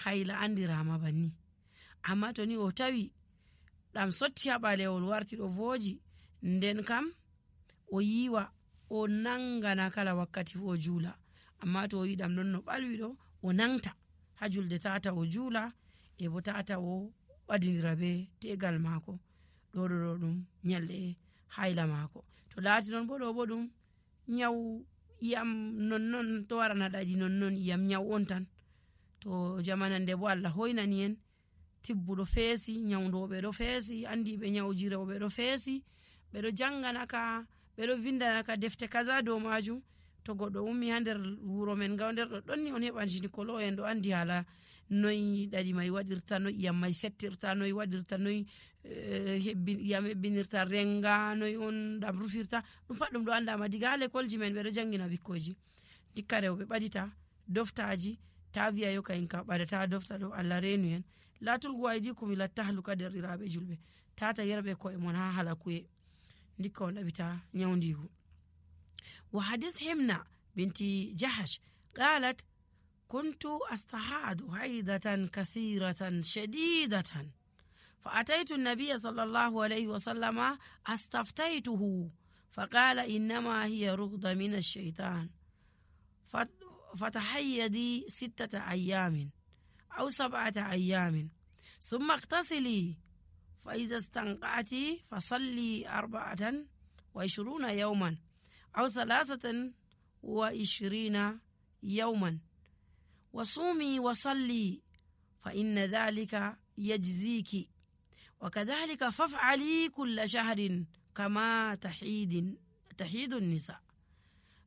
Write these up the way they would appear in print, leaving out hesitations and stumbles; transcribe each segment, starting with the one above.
hayla andirama banni. Amma to ni o tawi ɗam sotti ha ɓalewol warti ɗo voji, nden kam o yiwa o nangana kala wakkati fu o juula. Amma to o yi ɗam non no ɓalwi ɗo, o nangta ha julde tata o juula, e bo tata o ɓadindira be tegal mako. Ɗo ɗum nyalɗe hayla mako. To laati non bo ɗo bo ɗum nyawu iyam nonnon to warana ɗaɗi nonnon, iyam nyawu on tan. To jamanande bo Allah hoynani en tibbuɗo feesi, nyawdoɓe ɗo feesi, andiɓe nyawuji rewɓe ɗo feesi, ɓeɗo janganaka, ɓeɗo vindanaka defte kaza dow majum. To goɗɗo ummi ha nder wuro men ga nder ɗon ni on heɓan gynécologue en ɗo andi hala noy ɗaɗi mai waɗirta, noy iyam mai fettirta, noy waɗirta, noy iyam hebbinirta renga, noy on ɗam rufirta. Ɗum pat ɗum ɗo andama diga ha lekolji men ɓeɗo jangina bikkoji. Dikka rewɓe ɓadita doftaji, ta wi'a yo kayin ka ɓadata dofta ɗo, Allah renu en. La tulgu aydikum ila tahluka, derɗiraɓe julɓe, tata yerɓe ko'e mon ha halakuye. Dikka on ɗaɓita nyawndigu. وحديث حمنة بنت جحش قالت: كنت أستحاض حيضة كثيرة شديدة، فأتيت النبي صلى الله عليه وسلم أستفتيته فقال: إنما هي رغضة من الشيطان، فتحيدي 6 أيام أو 7 أيام ثم اغتسلي، فإذا استنقعت فصلي 24 يوما أو 23 يوما وصومي وصلي، فإن ذلك يجزيك، وكذلك فافعلي كل شهر كما تحيد النساء.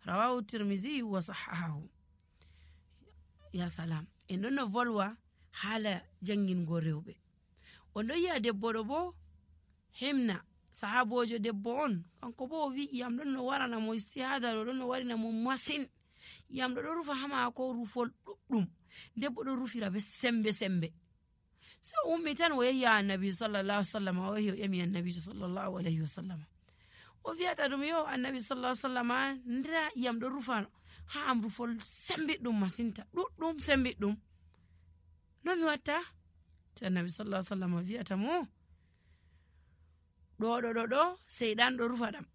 رواه الترمذي وصححه. يا سلام. إننا volwa hala jangingo rewɓe. On ɗo yi'a debbo ɗo bo Himna, sahabojo debbo on, kanko bo o wi iyam ɗon no warana mo istihada ɗo ɗon no warina mo masin. Iyam ɗo ɗo rufa ha mako rufol ɗuɗɗum. Debbo ɗo rufira be sembe. So ummi tan o yehi annabi sallallahu alaihi wasallam, o yehi o ƴami annabi sallallahu alaihi wasallam. O wi'ata ɗum: yo annabi sallallahu alaihi wasallam, ndra iyam ɗo rufa ha am rufol sembiɗɗum masinta, ɗuɗɗum sembiɗɗum. No mi watta? So annabi sallallahu alaihi wasallam wi'ata mo: ɗo seyɗan ɗo rufa ɗam.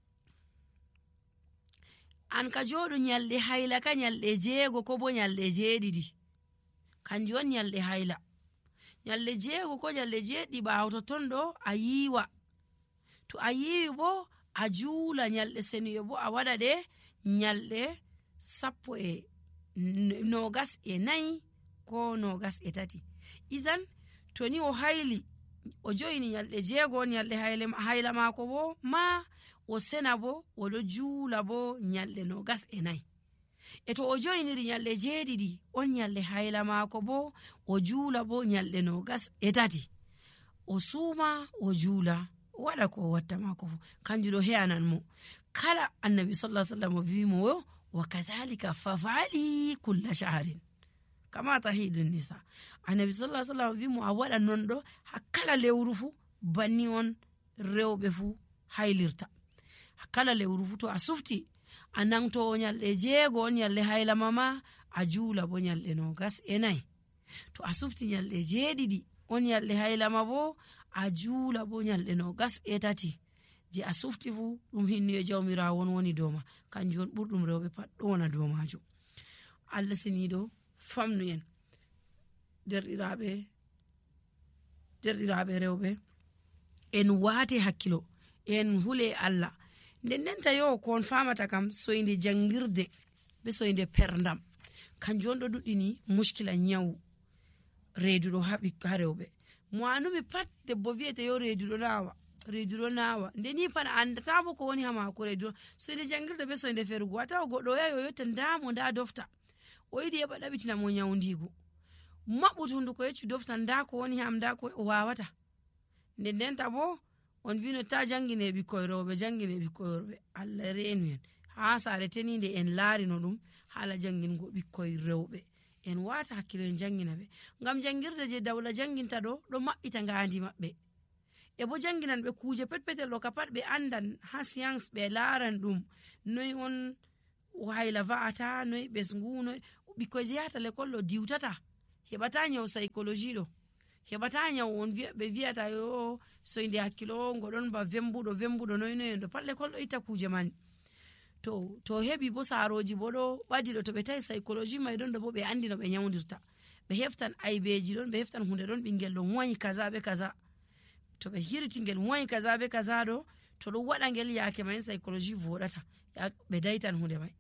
An ka joɗu nyalɗe hayla ka nyalɗe 6 ko bo nyalɗe 7, kanjum on nyalɗe hayla. Nyalɗe 6 ko nyalɗe 7 ɓawo to ton ɗo a yiwa. To a yiwi bo a juula nyalɗe seniyo bo a waɗa ɗe nyalɗe 24 ko 23. Izan to ni o hayli o joyini nyalɗe 6 nyalɗe hayla mako bo ma o sena bo o ɗo juula bo nyalɗe 24. E to o joyiniri nyalɗe 7 on nyalɗe hayla mako bo o juula bo nyalɗe 23. O suuma o juula, o waɗa ko o watta mako fu, kanjum ɗo he'anan mo. Kala annabi sallallahu alaihi wasallam wi mo yo: wa kadhalika fafali kulla shahrin kama tahidun nisa. Annabi sallallahu alaihi wasallam wi mo a waɗa non ɗo ha kala lewru fu, banni on rewɓe fu haylirta. Ha kala lewru fu to a sufti a nangto nyalɗe 6 on nyalɗe hayla mama, a juula bo nyalɗe 24. To a sufti nyalɗe 7 on nyalɗe hayla ma bo, a juula bo nyalɗe 23. Je a sufti fu ɗum hinniyo jawmirawo woni dow ma, kanjum on ɓurɗum rewɓe pat ɗo wona dow majum. Allah siniɗo famnu en derɗiraɓe rewɓe, en waate hakkilo, en hule Allah. Ndendenta yo ko on famata kam, soyde jangirde be soyde perdam, kanjum on ɗo duɗɗini muskila nyawu reeduɗo ha rewɓe. Mo anumi pat debbo wi'ete yo reeduɗo nawa, ndeni pat andata bo ko woni ha mako reeduɗo. Soyde jangirde be soyde ferugo, atawa goɗɗo yahi o yotta ndamo nda dofta, o yiɗi heɓa ɗaɓitina mo nyawndigu, maɓɓutu hunduko yeccu dofta nda ko woni ham, nda ko o wawata. Ndendenta bo on wino ta jangine ɓikkoy rewɓe, jangine ɓikkoy rewɓe. Allah renu en ha sare tenide en laarino ɗum hala jangingo ɓikkoy rewɓe. En wata hakkilo en jangina ɓe, ngam jangirde je dawla janginta ɗo maɓɓita ngandi maɓɓe, e bo janginan ɓe kuje petpetel ɗo ka pat ɓe andan ha science, ɓe laaran ɗum noy on hayla va'ata, noy ɓesgu, noy ɓikkoy je yahata lekol ɗo diwtata heɓata nyaw psychologie ɗo, heɓata nyaw on ɓe wiyata yo soyde hakkilo ngo ɗon ba vembuɗo noynoyen ɗo pat l'école ɗo itta kuje man. to heɓi bo saroji bo ɗo ɓadi ɗo, to ɓe tawi psychologie mai ɗon ɗo bo ɓe andi no ɓe nyawdirta, ɓe heftan aybeji ɗon, ɓe heftan hunde ɗon ɓingel ɗo wayi kaza be kaza, to ɓe hirti ngel wayi kaza be kaza ɗo, to ɗo waɗa ngel yake mai psychologie voɗata, ɓe daitan hunde mai.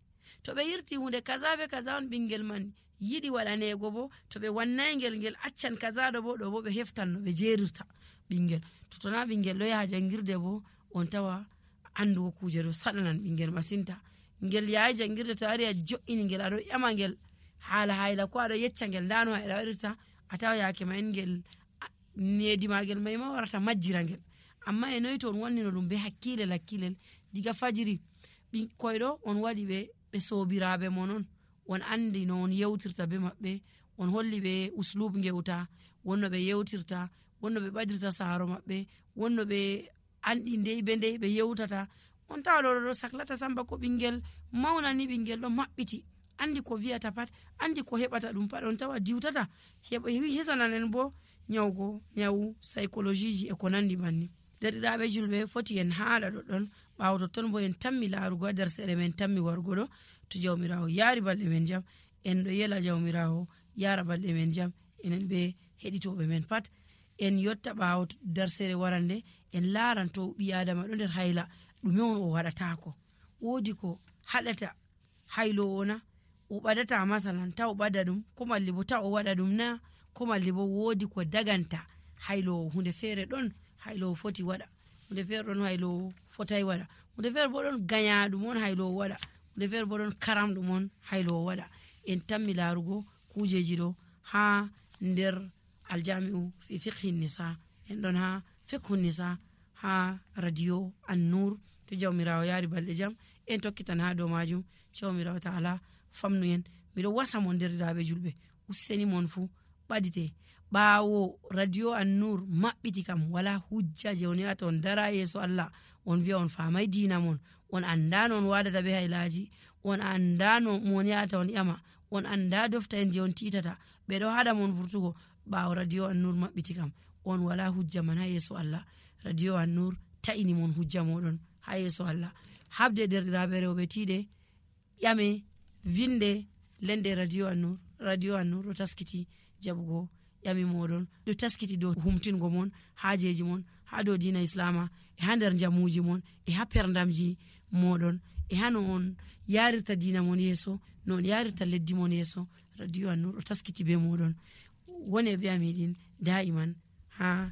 To ɓe hirti hunde kaza be kaza on ɓingel man yiɗi waɗanego bo, to ɓe wannai ngel accan kaza ɗo bo ɓe heftan no ɓe jerirta ɓingel. to tona ɓingel ɗo yaha jangirde bo on tawa andugo kuje ɗo saɗanan ɓingel masinta. Ngel yaha jangirde to ari a jo'ini ngel aɗo ƴama ngel hala hayla ko aɗo yecca ngel ndano hayla waɗirta, a tawa yake mai ngel nedi magel mai ma warata majjira ngel. Amma e noyi to on wannino ɗum be hakkilel diga fajiri ɓikkoyɗo on waɗi ɓe sobiraɓe mon on andi no on yewtirta be maɓɓe, on holli ɓe uslub ngewta, wonno ɓe yewtirta, wonno ɓe ɓadirta saharo maɓɓe, wonno ɓe andi ndey ɓe yewtata. On tawa ɗo saklata samba ko ɓingel maunani ɓingel ɗo maɓɓiti andi ko wiyata pat, andi ko heɓata ɗum pat, on tawa diwtata hisananen bo nyawu psychologie ji e ko nandi banni. Derɗiraɓe julɓe foti en haɗa ɗoɗɗon, ɓawo totton bo en tammi larugo ha nder seɗe men tammi wargo ɗo, to jawmirawo yaari balɗe men jam en ɗo yela jawmirawo yara balɗe men jam, enen ɓe heɗitoɓe men pat en yotta ɓawo darsere warande en laran to ɓi adama ɗo nder hayla ɗume on o waɗatako, wodi ko haɗata haylowo na o ɓadata masalan ta o ɓada ɗum, ko malli bo ta o waɗa ɗum na, ko malli bo wodi ko daganta haylowo. Hunde feere ɗon haylowo foti waɗa, hunde feere ɗon haylowo fotai waɗa, hunde feere bo ɗon ganyaɗum on haylowo waɗa, hunde feere bo ɗon karamɗum on haylowo waɗa. En tammi larugo kujeji ɗo ha nder aljami'u fi fiqhi nisa, en ɗon ha fiqhu nisa ha radio An-Nur. To jawmirawo yaari balɗe jam en tokkitan ha dow majum. Jawmirawo ta'ala famnu en. Miɗo wasa mon derɗiraɓe julɓe, useni mon fu ɓadite ɓawo radio An-Nur maɓɓiti kam wala hujja je on yata on dara yeso Allah on wiya on famai dina mon, on andano on wadata be haylaji, on andano mon yata on ƴama, on anda dofta en je on titata, ɓeɗo haɗa mon vurtugo. ɓawo radio An-Nur maɓɓiti kam on wala hujja man ha yeso Allah. Radio An-Nur ta'ini mon hujja moɗon ha yeso Allah. Habde derɗiraɓe rewɓe tiɗe ƴame vinde lende radio An-Nur ɗo taskiti jaɓugo ƴami moɗon, ɗo taskiti dow humtingo mon hajeji mon ha dow dina islama, e ha nder jamuji mon, e ha perdamji moɗon, e ha no on yarirta dina mon yeso, no on yarirta leddi mon yeso. Radio An-Nur ɗo taskiti be moɗon. woni be amidin daiman ha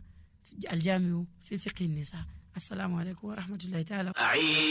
aljami'u fi fiqhi nisa. Assalamu alaikum wa rahmatullahi ta'ala.